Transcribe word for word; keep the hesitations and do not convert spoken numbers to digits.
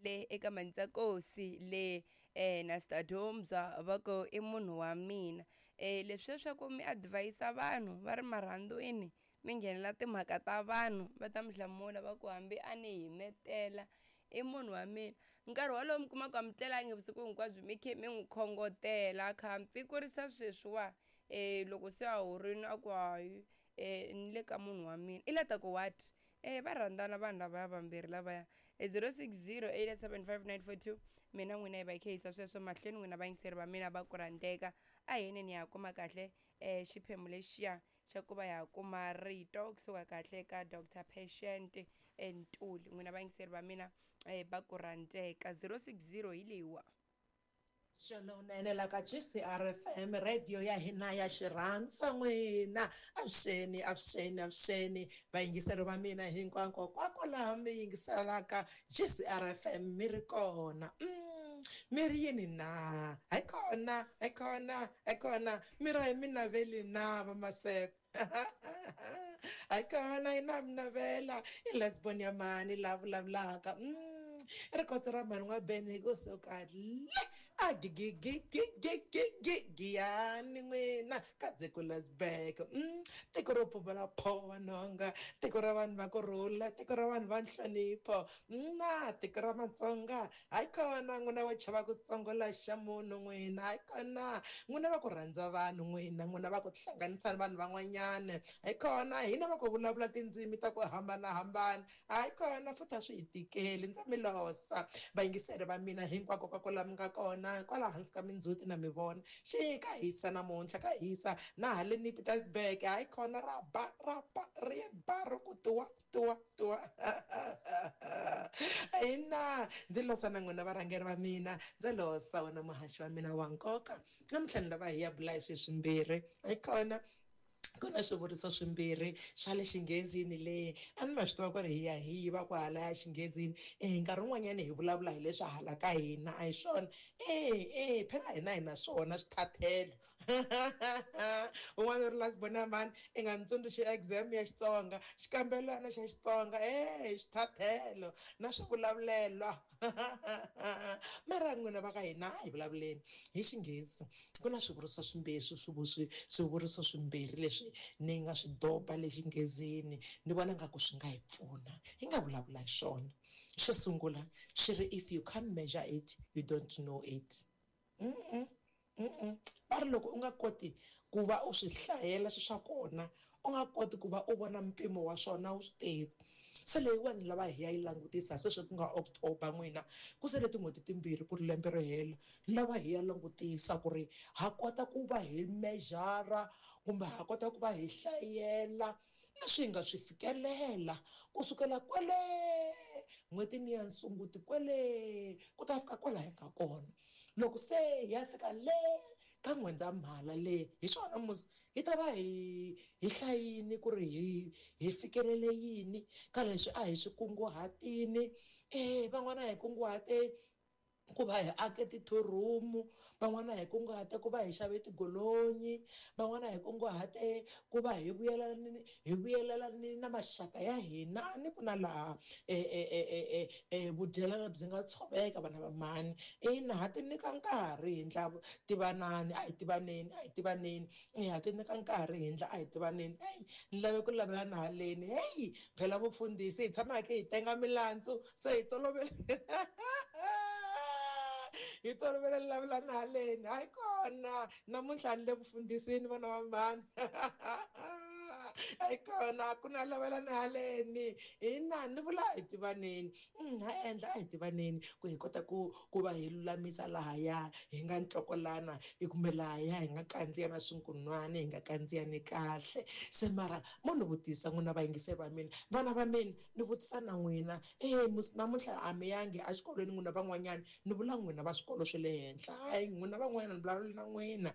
Le eka Mandzakosi le eh, na Stadomza va ku i munhu wa mina. um Leswiya swa ku mi advise vanhu va ri marhandzwini, mi nghenela timhaka ta vanhu, va ta mi hlamula va ku hambi a ni himetela i munhu wa mina. Nkarhi wolowo mi kuma ku a mi tlelangi vusiku hinkwabyo, mi khe mi n'wi khongotela, a kha a mpfikurisa sweswiwa. um Loko se a horini a ku hayi, um ni le ka munhu wa mina, i la ta ku what? um Va rhandzana vanhu lavaya vambirhi lavaya. zero six zero eight seven five nine four two. Mina n'wina hi va hi khe yisa sweswo mahlweni. N'wina vayingiseri va mina va ku rhandzeka, a hi yeneni ya kuma kahle um xiphemu lexiya xa ku va ya kuma rito kusuka kahle ka Doctor Patient Ntuli. N'wina vayingiseri va mina um va ku rhandzeka, zero six zero hi leyiwa. Xolowunene la ka G C R F M, radio ya hina ya xirhandza n'wina. Avuxeni, avuxeni, avuxeni vayingiseri va mina hinkwako kwako laha mi yingiselaka G C R F M mi ri kona. mm, mi ri yini na? Hi kona, hi kona, hi kona. Mi ra hi mi naveli na vamasepe? Hi kona, hi na mi navela. I lesbon ya mani la vulavulaka? mm, rikotso ra mhani n'wabeni kusuka le a gigigigigigigiyani n'wina ka Dzekulasburg. mm, tiko ro pfumala phowa nhonga, tiko ra vanhu va ku rhula, tiko ra vanhu va nhlonipho na tiko ra Matsonga. Hayi kona n'wina wo chava ku tsongola xa munhu n'wina. Hayi kona n'wina va ku rhandza vanhu n'wina, n'wina va ku tihlanganisa ni vanhu van'wanyana. Hayi kona hina va ku vulavula tindzimi ta ku hambanahambana. Hayi kona futhi a swi hi tikeli. Ndza mi losa vayingiseri va mina hinkwako ka ku la mi nga kona kwala hansi ka mindzhuti na mi vona. Xi ka hisa namuntlha, ka hisa na haleni Pietersburg. Hayi khona ra ba, ra ba, ri ba ri ku tuwa tuwa tuwa. Ina, ndzi losa na n'wina varhangeri va mina, ndzi losa wena muhaxi wa mina wa nkoka. Namuntlha ni lava hi ya bula hi swi swimbirhi. Hayi kona ku na swivuriso swimbirhi swa le xinghezini le a ni ma swi tiva ku ri hi ya hi yiva kwahalaya xinghezini. E nkarhi wun'wanyani hi vulavula hi leswi hala ka hina, a hi swona? E e phela hina hi na swona swithathelo. Un'wana u ri lasibona mani i nga ni tsundzuxi exam ya Xitsonga, xikambelwana xa Xitsonga. E swithathelo na swivulavulelo, mara n'wina va ka hina a hi vulavuleni hi Xinghezi. Ku na swivuriso swimbirhi, swi swivuriso swimbirhi leswi ni nga swi doba le xinghezini, ni vona nga ku swi nga hi pfuna hi nga vulavula hi swona. Xo sungula xi ri, "If you can't measure it, you don't know it." mm -mm. Mm -mm. Va ri loko u nga koti ku va u swi hlayela swi swa kona, u nga koti ku va u vona mpimo wa swona, u swi tivi. Se leyiwani lava hi ya yi langutisa sweswi ku nga October n'wina, ku sele tin'hweti timbirhi ku ri lembe ri hela. Ni lava hi ya langutisa ku ri ha kota ku va hi measure kumbe ha kota ku va hi hlayela leswi hi nga swi fikelela kusukela kwale n'hwetini ya Nsunguti kwele ku ta fika kwala hi nga kona. Loko se hi ya fika le ka N'wendzamhala le, hi swona musi hi ta va hi hi hlayini ku ri hi hi fikelele yini ka leswi a hi swi kunguhatini. E van'wana hi kunguhate ku va hi ake ti-two room, van'wana hi kunguhate ku va hi xave tigolonyi, van'wana hi kunguhate ku va hi vuyelelani hi vuyelelani na maxaka ya hina ni ku na laha e e e e e vudyelana byi nga tshoveka vana va mhani. Ina, ha ti nyika nkarhi hi ndla tivanani, a hi tivaneni, a hi tivaneni. E ha ti nyika nkarhi hi ndla a hi tivaneni. Heyi, ni lave ku lavelana haleni. Heyi, phela vufundhisi hi tshama hi khe hi tenga milandzu, se hi tolovele hi tolovele lavelana haleni. Hayi kona namuntlha ni le vufundhisini vana va mhani. Hayi kona ku na lavelana haleni. Ina, ni vula hi tivaneni. Ha endla a hi tivaneni ku hi kota ku ku va hi lulamisa lahaya hi nga ntlokolana kumbe lahaya hi nga kandziya na swinkunwani, hi nga kandziyani kahle. Se mara mo ni vutisa n'wina vayingiseri va mina, vana va mina, ni vutisa na n'wina. E musi namuntlha a mi yangi exikolweni n'wina van'wanyana? Ni vula n'wina va swikolo swa le henhla, hayi n'wina van'wanyana, ni vulavula na n'wina.